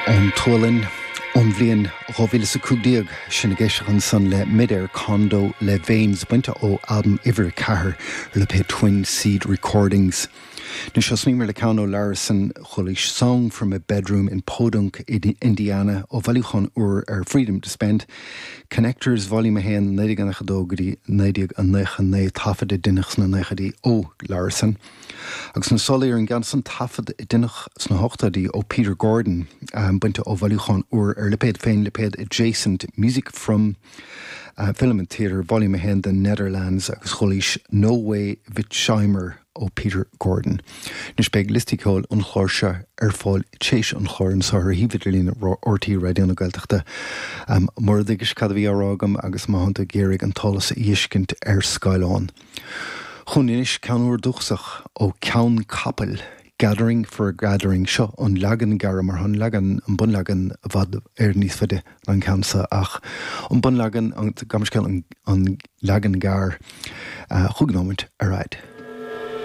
Ón tSualainn, ón bhliain 2015, sinn ag éisteacht ansan le Midair Condo le Veins, bainte ó albam uimhir 4 ar lipéad Twin Seed Recordings. Anois thosnaíomar le ceann ó Larison, chualaís Song from a Bedroom in Podunk, Indiana, ó bhailiúchán úr ar Freedom to Spend, Connectors Volume 1, 1992 go dtí 1999, taifead a deineadh sna naochaidí ó Larison. Agus na solaí ar an gceann san, taifead a deineadh sna hochtóidí ó Peter Gordon, bainte ó bhailiúchán úr ar lipéad féin, lipéad Adjacent, Music from Film and Theatre, Volume 1, The Nederlands, agus chualaís No Way Witsheimer ó Peter Gordon. Anois beidh liosta ceoil an chláir seo ar fáil téis an chláir anseo ar shuíomh idirlín RTÉ Raidió na Gaeltachta. Mura dtuigis cad a bhí á rá agam agus má thánn tú ag iarraidh an t-eolas a fheiscint ar scáileán. Chugainn anois ceann úr dúchasach ó Ceann Capaill, Gathering for a Gathering. Seo an leagan gearr mar tá an leagan, an bunleagan i bhfad Éireann níos faide ná an ceann seo ach an bunleagan, gabh mo leithscéal, an leagan gearr. Chúig nóimint ar fhad.